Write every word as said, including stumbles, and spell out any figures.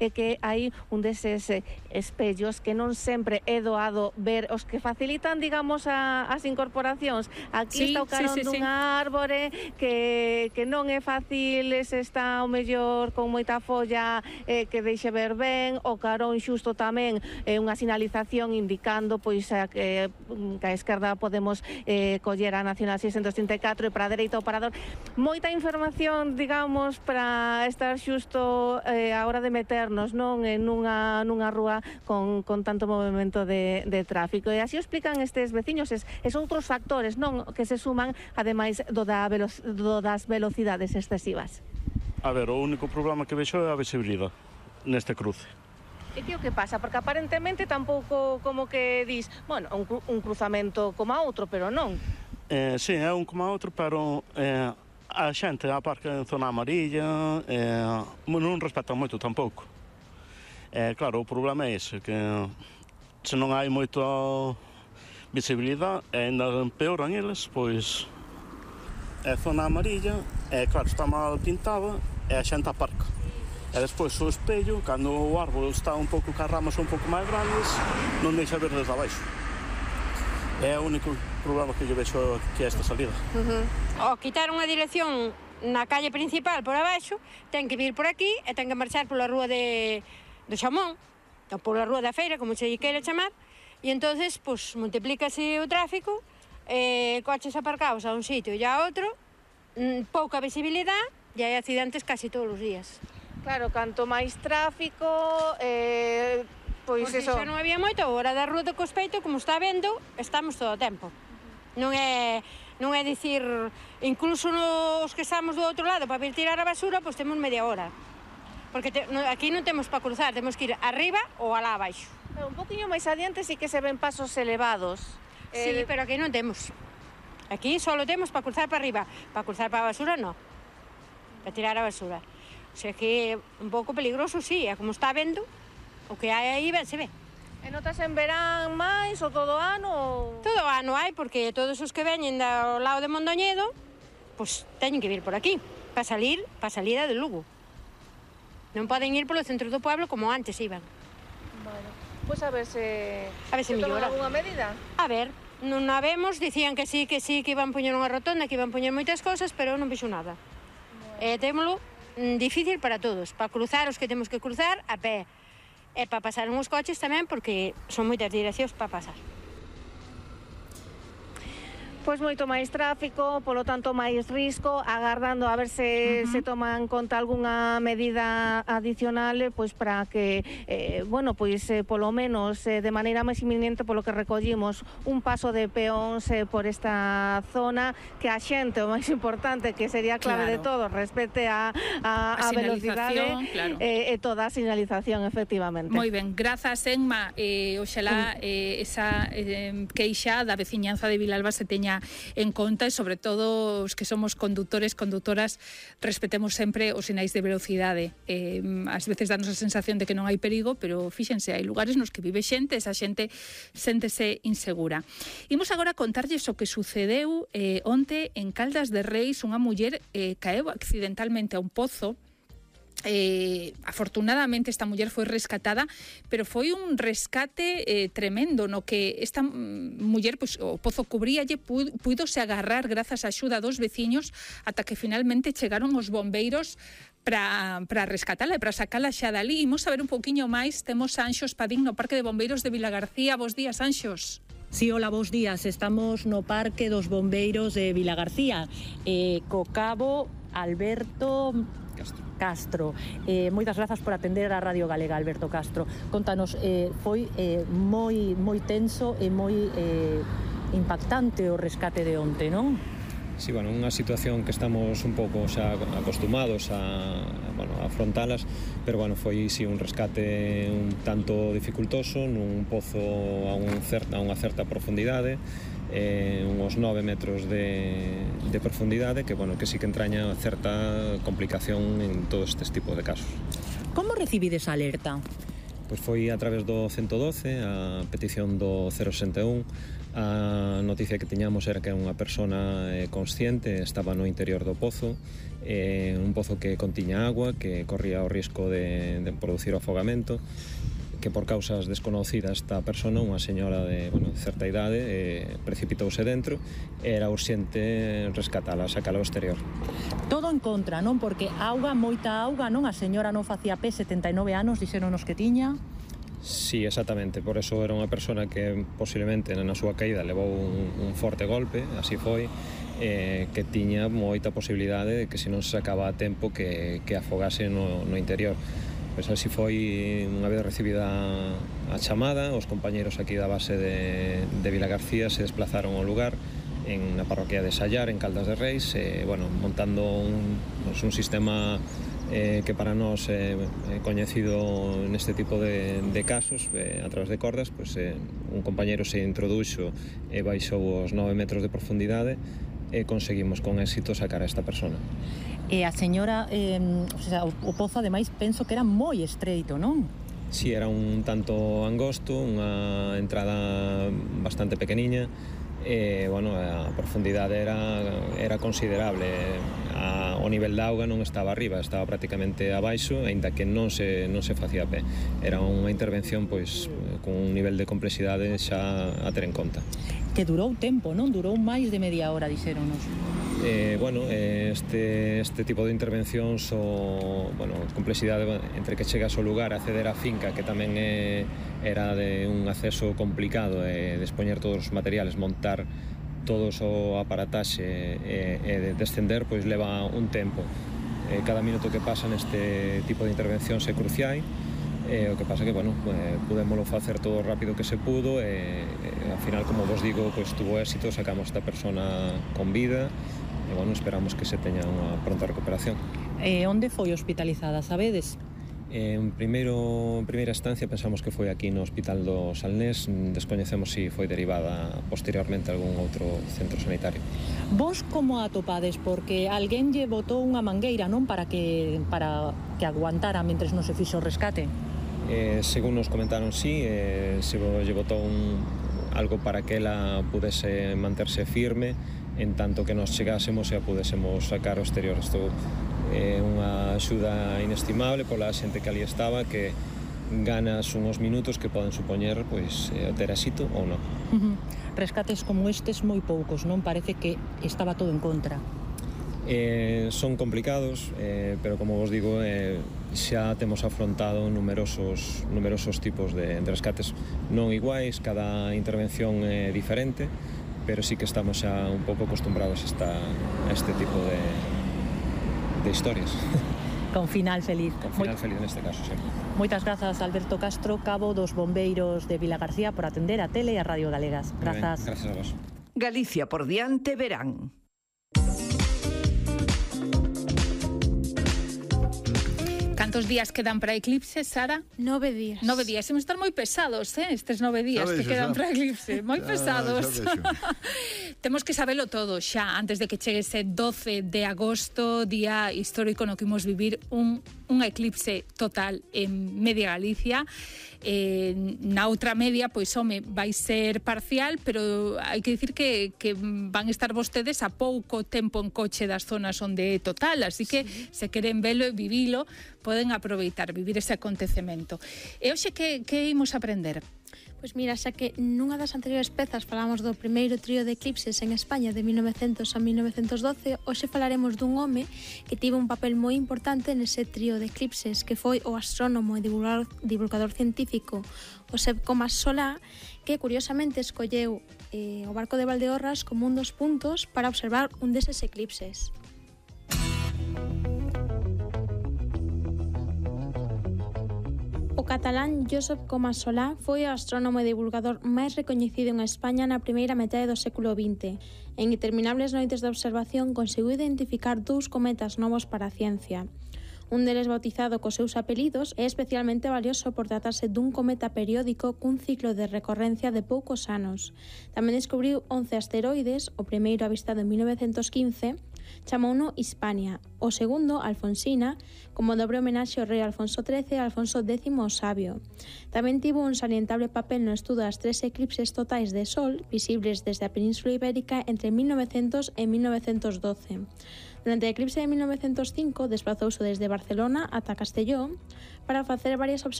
é que hai un deses eh, espellos que non sempre é doado ver, os que facilitan, digamos, a, as incorporacións. Aquí Sí, está o carón sí, sí, sí. dunha árbore que, que non é fácil, se está o mellor con moita folla eh, que deixe ver ben, o carón xusto tamén é unha sinalización indicando pois a, que, que a esquerda podemos eh, coller a Nacional seiscentos trinta e catro e para a dereita o parador. Moita información, digamos, para estar xusto eh, a hora de meternos, non, en nunha, nunha rúa con, con tanto movimento de, de tráfico. E así o explican estes veciños, es, es outros factores, non, que se suman ademais do, da velo, do das velocidades excesivas. A ver, o único problema que vexo é a visibilidade neste cruce. E que o que pasa? Porque aparentemente tampouco como que dis, bueno, un, un cruzamento como a outro, pero non. Eh, sí, é un como a outro, pero eh, a xente aparca en zona amarilla, eh, non respetan moito tampouco. Eh, claro, o problema é ese, que se non hai moita visibilidade, e ainda empeoran eles, pois é zona amarilla, e claro, está mal pintada, e a xente aparca. E despois o espello, cando o árbol está un pouco, que as ramas son un pouco máis grandes, non deixa ver desde abaixo. É o único problema que yo vexo que é esta salida. Uh-huh. O quitar unha dirección na calle principal por abaixo, ten que vir por aquí e ten que marchar pola rúa de, do Xamón, ou pola rúa da Feira, como se lle queira chamar, e entonces, pues, multiplícase o tráfico, eh, coches aparcados a un sitio e a outro, pouca visibilidade, e hai accidentes casi todos os días. Claro, canto máis tráfico, eh, pois Porque eso... xa non había moito, a hora da rúa do Cospeito, como está vendo, estamos todo o tempo. Non é, non é dicir, incluso nos que estamos do outro lado para vir tirar a basura, pois temos media hora. Porque te, no, aquí non temos para cruzar, temos que ir arriba ou alá abaixo. Pero un poquinho máis adiante sí que se ven pasos elevados. Sí, eh... pero aquí non temos. Aquí só temos para cruzar para arriba. Para cruzar para a basura, non. Para tirar a basura. O sea que é un pouco peligroso, sí, é como está vendo, o que hai aí ben se ve. E notas en verán máis ou todo ano? Ou... Todo ano hai, porque todos os que veñen do lado de Mondoñedo, pois teñen que vir por aquí, para salir, para salida de Lugo. Non poden ir polo centro do pueblo como antes iban. Bueno, pois a ver se... A ver se, se mellora. Toman alguna medida? A ver, non a vemos, dicían que sí, que sí, que iban poñer unha rotonda, que iban poñer moitas cosas, pero non vexo nada. Bueno. E témolo difícil para todos, para cruzar os que temos que cruzar a pé, e para pasar uns coches tamén, porque son moitas direccións para pasar. Pois moito máis tráfico, polo tanto máis risco, agardando a ver se uh-huh. se toman en conta algunha medida adicional, pois para que, eh, bueno, pois eh, polo menos eh, de maneira máis inminente, polo que recollimos, un paso de peóns eh, por esta zona, que a xente, o máis importante, que sería a clave claro. de todo, respete a, a, a, a velocidade claro. eh, e toda a sinalización, efectivamente. Moi ben, grazas, Enma. Eh, oxalá eh, esa eh, queixa da veciñanza de Vilalba se teña en conta e sobre todo os que somos condutores, condutoras, respetemos sempre os sinais de velocidade. Eh, ás veces danos a sensación de que non hai perigo, pero fíxense, hai lugares nos que vive xente, esa xente séntese insegura. Imos agora contarlles o que sucedeu eh, onte en Caldas de Reis. Unha muller eh, caeu accidentalmente a un pozo. Eh, afortunadamente esta muller foi rescatada, pero foi un rescate eh, tremendo, no que esta muller, pois, o pozo cubríalle, puido se agarrar grazas á axuda dos veciños ata que finalmente chegaron os bombeiros para para rescatala e para sacala xa dali. Imos saber un pouquiño máis. Temos a Anxos Padín no Parque de Bombeiros de Vilagarcía. Bos días, Anxos. Sí, hola, bos días. Estamos no Parque dos Bombeiros de Vilagarcía, eh, co cabo Alberto Castro. Castro. Eh, moitas grazas por atender a Radio Galega, Alberto Castro. Contanos, eh, foi eh, moi moi tenso e moi eh, impactante o rescate de onte, non? Sí, bueno, unha situación que estamos un pouco xa acostumados a, bueno, a afrontalas, pero bueno, foi sí un rescate un tanto dificultoso nun pozo a, un certa, a unha certa profundidade, eh, uns nove metros de, de profundidade, que bueno, que sí que entraña certa complicación en todos estes tipos de casos. Como recibides a alerta? Pois foi a través do ciento doce, a petición do cero sesenta e un. A noticia que tiñamos era que unha persona eh, consciente estaba no interior do pozo, eh, un pozo que contiña agua, que corría o risco de, de producir afogamento, que por causas desconocidas esta persona, unha señora de, bueno, de certa idade, eh, precipitouse dentro e era urxente rescatala, sacala ao exterior. Todo en contra, non? Porque auga, moita auga, non? A señora non facía pé, setenta e nove anos, dixéronos que tiña. Sí, exactamente, por eso era unha persona que posiblemente na súa caída levou un, un forte golpe, así foi, eh, que tiña moita posibilidade de que se non se sacaba a tempo que, que afogase no, no interior. Pois así foi, unha vez recibida a chamada, os compañeros aquí da base de, de Vilagarcía se desplazaron ao lugar en na parroquia de Sallar, en Caldas de Reis, eh, bueno, montando un, pues, un sistema eh, que para nós é eh, coñecido neste tipo de, de casos, eh, a través de cordas, pues, eh, un compañeiro se introduxo e baixou os nove metros de profundidade e conseguimos con éxito sacar a esta persona. E a señora, eh, o, sea, o pozo ademais penso que era moi estreito, non? Si, sí, era un tanto angosto, unha entrada bastante pequeniña e, bueno, a profundidade era, era considerable. A, o nivel da auga non estaba arriba, estaba prácticamente abaixo, aínda que non se, non se facía pé. Era unha intervención, pois, con un nivel de complexidade xa a ter en conta. Que durou tempo, non? Durou máis de media hora, dixéronos. Eh, bueno, este, este tipo de intervencións o, bueno, complexidade entre que chegas ao lugar, acceder á finca, que tamén é, era de un acceso complicado, e despoñer todos os materiales, montar todos o aparataxe e, e descender, pois leva un tempo. Eh, cada minuto que pasa neste tipo de intervencións é crucial. Eh, o que pasa que, bueno, eh, pudémoslo facer todo rápido que se pudo e, e ao final, como vos digo, pues, tuvo éxito, sacamos esta persona con vida e, bueno, esperamos que se teña unha pronta recuperación. Eh, onde foi hospitalizada, sabedes? En primeiro, en primeira instancia pensamos que foi aquí no Hospital do Salnés, descoñecemos se si foi derivada posteriormente a algún outro centro sanitario. Vos como a atopades? Porque alguén lle botou unha mangueira, non? Para que, para que aguantara mentres non se fixo o rescate. Eh, según nos comentaron, sí, eh, se lle botou un, algo para que ela pudese manterse firme en tanto que nos chegásemos e a pudésemos sacar ao exterior. Isto é unha axuda inestimable pola xente que ali estaba, que ganas uns minutos que poden supoñer, pois, ter éxito ou non. Uh-huh. Rescates como estes moi poucos, non? Parece que estaba todo en contra. Eh, son complicados, eh, pero como vos digo, eh, xa temos afrontado numerosos, numerosos tipos de, de rescates non iguais, cada intervención é diferente, pero sí que estamos xa un pouco acostumbrados a, esta, a este tipo de, de historias. Con final feliz. Con final Moi... feliz neste caso, sempre. Moitas grazas, Alberto Castro, cabo dos bombeiros de Vilagarcía, por atender a Tele e a Radio Galegas. Grazas. Grazas a vos. Galicia por diante verán. Cantos días quedan para eclipse, Sara? Nove días. Nove días. Imos estar moi pesados, eh? Estes nove días que quedan para eclipse. Moi pesados. Temos que sabelo todo xa, antes de que chegue ese doce de agosto, día histórico no que imos vivir un, un eclipse total en media Galicia. Eh, na outra media, pois, home, vai ser parcial, pero hai que dicir que, que van estar vostedes a pouco tempo en coche das zonas onde é total, así que sí, se queren velo e vivilo, poden aproveitar, vivir ese acontecemento. E hoxe que, que imos aprender? Pois mira, xa que nunha das anteriores pezas falamos do primeiro trío de eclipses en España de mil novecentos a mil novecentos doce, hoxe falaremos dun home que tivo un papel moi importante nese trío de eclipses, que foi o astrónomo e divulgador, divulgador científico Josep Comas Solá, que curiosamente escolleu eh, o barco de Valdeorras como un dos puntos para observar un deses eclipses. O catalán Josep Comas Solá foi o astrónomo e divulgador máis recoñecido en España na primeira metade do século vinte. En interminables noites de observación conseguiu identificar dous cometas novos para a ciencia. Un deles bautizado cos seus apelidos é especialmente valioso por tratarse dun cometa periódico cun ciclo de recorrencia de poucos anos. Tamén descubriu once asteroides, o primeiro avistado en mil novecientos quince, chamouno Hispania, o segundo, Alfonsina, como dobre homenaxe ao rei Alfonso trece e Alfonso décimo o Sabio. Tamén tivo un salientable papel no estudo das tres eclipses totais de Sol, visibles desde a Península Ibérica entre mil novecientos e mil novecientos doce. Durante a eclipse de mil novecientos cinco desplazouse desde Barcelona ata Castelló para facer varias observacións